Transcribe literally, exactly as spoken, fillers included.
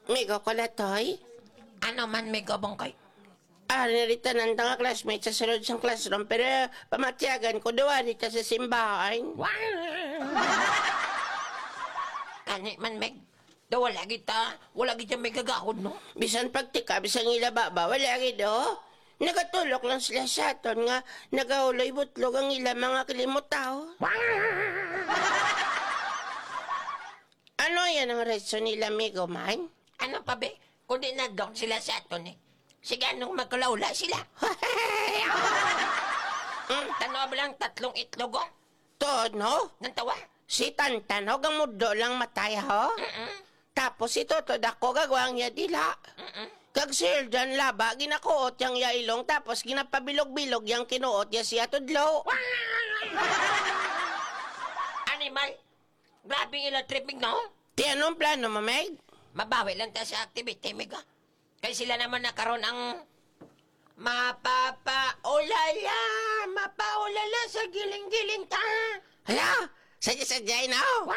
Migo ko na, Toy. Ano man, Migo Bongkoy? Ah, narita nang nga classmate sa sulod sang classroom, pero pamatyagan ko, duwa dito sa simbahan. Kani man, Meg. Daw wala kita, wala kita may gagahod, no? Bisan pagtika, bisan ila baba, wala gid, oh. Nagatulok lang sila sa aton nga nagahuloy butlog ang ila mga kalimutaw. Ano yan ang reason nila, Migo man? Ano pa, be? Kundi nag-down sila sa aton, eh. Sige, anong magkalaula sila? Hmm, tanawa ba lang tatlong itlog, oh? Tuod, no? Nang tawa? Si Tantan, ho, gamudlo lang matay, ho? Mm-mm. Tapos si Toto Dako, gagwang niya dila. Mm-mm. Kag si Hildan Laba, ginakuot yang iya ilong, tapos ginapabilog-bilog yang kinuot niya siya tudlo. Animal! Grabe ang ilang tripping, no? Ti, anong plano mo, Meg? Mabawi lang ta sa activity, Meg, ah. Kay sila naman na karon ang mapapaulala, mapaulala sa giling-giling ta. Hala, sadya-sadya, no?